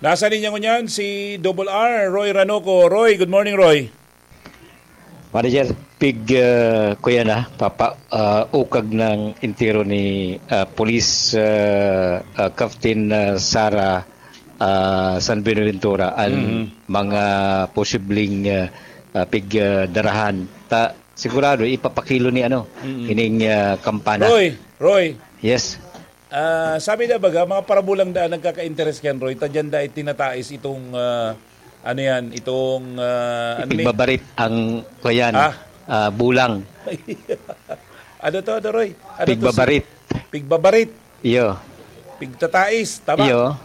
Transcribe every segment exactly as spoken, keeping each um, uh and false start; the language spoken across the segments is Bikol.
Nasa linya ngunyan si Double R, Roy Ranoco. Roy, good morning, Roy. Manager, pig, ah, kuya na, papa, ah, ukag ng entero ni, ah, Police, ah, ah, Captain, ah, Sara, ah, San Buenaventura, ang Mhm. mga posibleng, ah, ah, pig, ah, darahan. Ta, sigurado, ipapakilo ni ano, Mhm. ining, ah, kampana. Roy, Roy. Yes. Ah, sabi na baga, mga parabulang daan nagkaka-interes kan Roy, ta diyan dai tinatais itong, ah, ano yan, itong, ah, ano ni? Pigbabarit ang, kuyan, Ah? ah, bulang. Ano to, ano, Roy? Ano to, si Pigbabarit. Pigbabarit. Iyo. Pigtatais, tama? Iyo.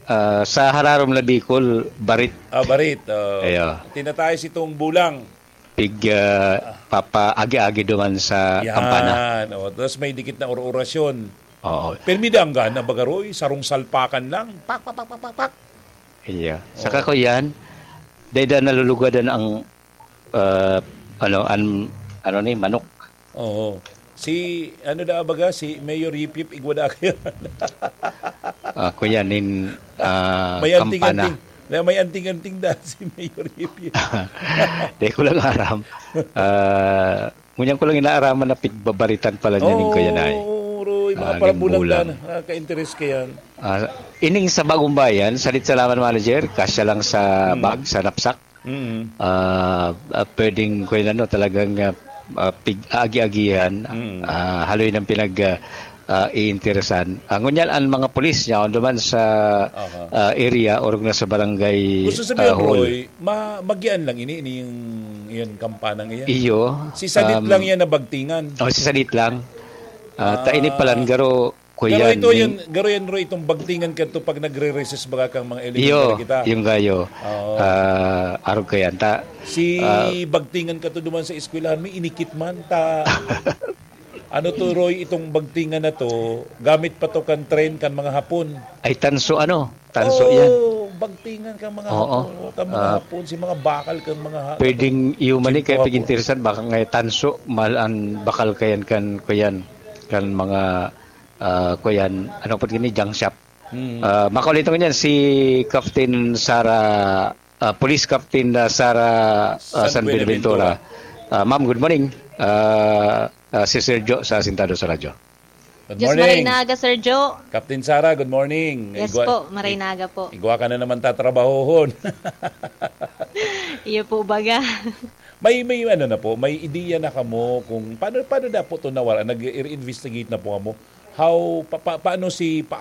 Ah, sa hararom na Bicol, barit. Ah, barit, oh. Iyo. Tinatais itong bulang. Pig, ah, papaagi-agi duman sa Yan, kampana. Oh. Tapos may dikit na or-, orasyon. Oo. Pirmi danggan na baga, Roy, sarong salpakan lang. Pak, pak, pak, pak, pak, pak. Iya. Saka Oo. ko yan, dahil na nalulugadan ang, ah, ano, an-, ano ni, manok. Oo. Si, ano da baga, si Mayor Yip Yip, igwa da kayo. Ah, kuya, nin, ah, May kampana. anting-anting. Na may anting-anting da si Mayor Yip Yip. Di ko lang aram. Ah, ngunyan ko lang inaaraman na pigbabaritan pala niya ning kuya na eh. Oo, Roy, mga Ah, parabulang ning bulang. Dan, nakaka-interes ka yan. Ah, ining sa Bagong Bayan, salit sa laman manager, kasya lang sa Hmm. bag, sa knapsack. Mm. Ah, ah, pwedeng, kuya, ano, talagang, ah, ah, pig-, agi-agihan, Mm. ah, haloy ng pinag-, ah, ah, iinteresan. Ah, ngunyan, ang mga pulis niya, duman sa, Aha. ah, area, orog na sa barangay, Gusto sabihin, ah, hall. Roy, ma-, magian lang ini, ini yung, yun, kampanang iyan. Iyo, Si Sadit um, lang yan na bagtingan. Oh, si Sadit lang. Ah, ta ini Ah. palan, garo, Kuya, Garo ito ni yan, garo yan, Roy, itong bagtingan ka to pag nagre-recess baga kang mga elementary Iyo, kita. yung gayo. Oo. Ah, arog ka yan, ta. Si Ah. bagtingan ka to duman sa eskwelahan, may inikit man, ta. Ano to, Roy, itong bagtingan na to, gamit pa to kan trend kan mga Hapon. Ay, tanso, ano? Tanso Oo, yan. bagtingan kan mga Oo. Hapon, kan mga Ah. Hapon, si mga bakal kan mga ha-, Pwedeng iyo man eh, kaya Kintuwa po. pag-interesan, baka nga tanso, mahal ang bakal kayan kan, kuyan, kan mga ah, kuyan, ano po gini, junk shop. Mm. Ah, makaulit naman yan, si Captain Sara, ah, Police Captain, ah, Sara, ah, San San Buenaventura. Buenaventura. Ah, ma'am, good morning. Ah, ah, si Sergio sa Asintado sa Radyo. Good Diyos morning. Maray na aga, Sergio. Captain Sara, good morning. Yes Igwa-, po, maray i-, na aga po. igwa ka na naman tatrabahohon. Iyo po, baga. May, may ano na po, may ideya na kamo kung paano, paano na po to nawala? Nag-i-investigate na po kamo? How, pa, pa, paano si, pa,